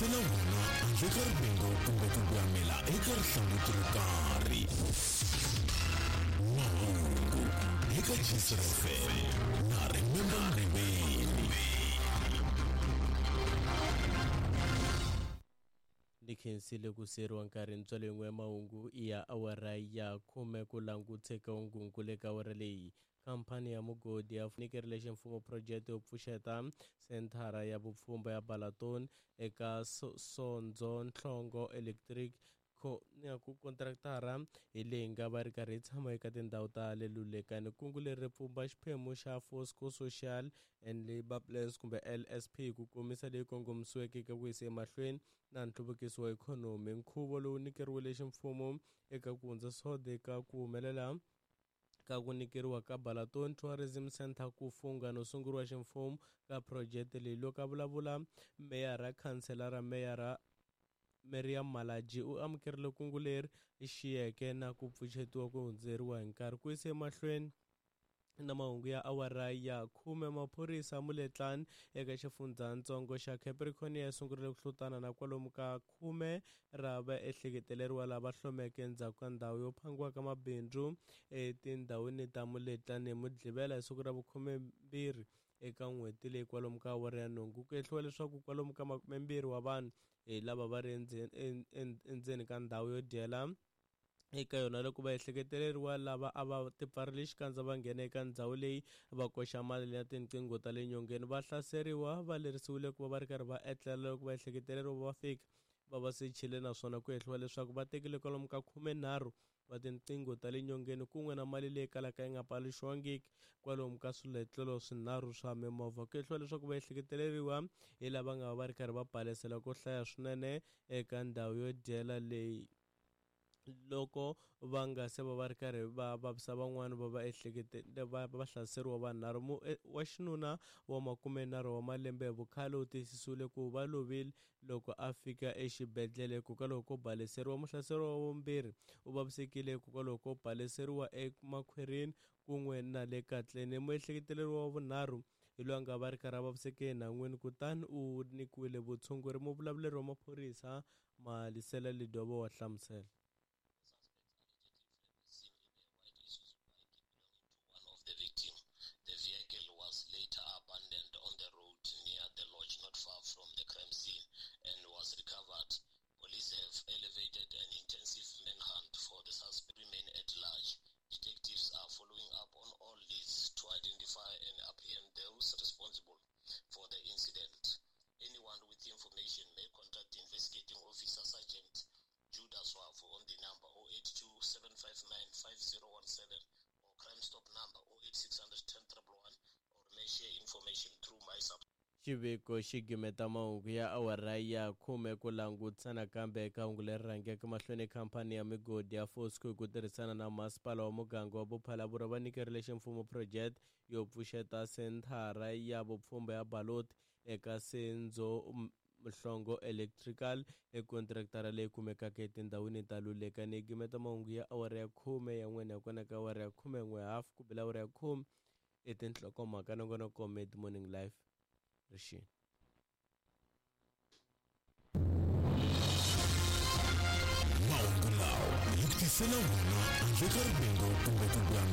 tisela wona handle ka rivengo kumbe ku voyamela eka rihlanguti ro karhi. Mahungu eka Gcr FM na Remember Mriveni. Ni khensile ku siyeriwa nkarhi ntswalo yin'we ya mahungu ya awara ya khume ku languteka ungungu le ka awara leyi. Khamphani ya mugodi ya nyikerile ximfumo phurojeke yo pfuxeta senthara ya vupfhumba ya Balaton eka Sondzo Nhlongo Electric ku kontraktara hi leyi nga va ri karhi yi tshama eka tindhawu ta le Lulekani. Kungu leri ri pfumba xiphemu xa Fosco Social and Labour Plans kumbe LSP ku komisa leyi kongomisiweke eka ku yisa emahlweni na nhluvukiso wa ikhonomi. Nkhuvo lowu nyikeriwile ximfumo eka ku hundza sode eka ku humelela ka ku nyikeriwa ka Balaton Tourism Center ku fungha no sunguriwa ximfumo ka phurojeke leyi. Loko a vulavula, meyara khanselara meyara Miriam Malaji u amukerile kungu leri xiyeke na ku pfuxetiwa ku hundzeriwa hi nkarhi. Ku yisa emahlweni na mahungu ya awara ya khume, maphorisa Muletlani eka xifundzhantsongo xa Capricorn ya sungurile ku hlutana na kwalomu ka khume ra vaehleketeleriwa lava hlomeke endzhaku ka ndhawu yo phangiwa ka mabindzu etindhawini ta Muletlani hi Mugqivela hi siku ra vukhume-mbirhi eka n'hweti leyi kwalomu ka awara ya nhungu. Ku hehliwa leswaku kwalomu ka 20 wa vanhu hi lava va ri endzeni ka ndhawu yo dyela eka yona loko va ehleketeleriwa lava a va tipfarile xikandza va nghena eka ndhawu leyi va koxa mali ya tinqingho ta le nyongeni. Va hlaseriwa va lerisiwile ku va va ri karhi va etlela loko va ehleketeleriwa va fika va va sechile, naswona ku hehliwa leswaku va tekile kwalomu ka 13 wa tinqingho ta le nyongeni kun'we na mali leyi kalaka yi nga paluxiwangiki kwalomu ka swiletlelo swinharhu swa mimovha. Ku hehliwa leswaku va ehleketeleriwa hi lava nga va ri karhi va balesela ko hlaya swinene eka ndhawu yo dyela leyi loko va nga se va va ri karhi va vavisa van'wani va va ehlekete va va hlaseriwa vanharhu. Wa xinuna wa 30 wa malembe hi vukhale u tiyisisiwile ku va lovile loko a fika exibedhlele hikokwalaho ko baleseriwa. Muhlaseriwa wa vumbirhi u vavisekile hikokwalaho ko baleseriwa emakhwirini kun'we na le katleni. Muehleketeleriwa wa vunharhu hi loyi a nga va ri karhi a vaviseke enhan'wini kutani u nyikiwile vutshunguri. Muvulavuleri wa maphorisa Malisela Lidobo wa hlamusela. The victim. The vehicle was later abandoned on the road near the lodge not far from the crime scene and was recovered. Police have elevated an intensive manhunt for the suspect remain at large. Detectives are following up on all leads to identify and apprehend those responsible for the incident. Anyone with information may contact investigating officer Sergeant Judas Wafu on the number 082 759 5017 or Crime Stop number 08600 10 111 or may share information through my sub. Xiviko xi gimeta mahungu ya awara ya khume ku langutisa nakambe eka hungu leri rhangeke mahlweni. Khamphani ya migodi ya Fosco hi ku tirhisana na masipala wa muganga wa Bophalabura va nyikerile ximfumo phurojeke yo pfuxeta senthara ya vupfhumba ya Baloti eka Senzo Mhlongo Electrical ekontraktara leyi kumekaka etindhawini ta Lulekani. Yi gimeta mahungu ya awara ya khume ya n'wina kona ka awara ya 11 hafu ku bela awara ya 10 i tinhlokomhaka nongonoko Mid Morning Live rixini. Mahungu lawa hi ku tisela wona handle ka rivengo kumbe ku voyamela.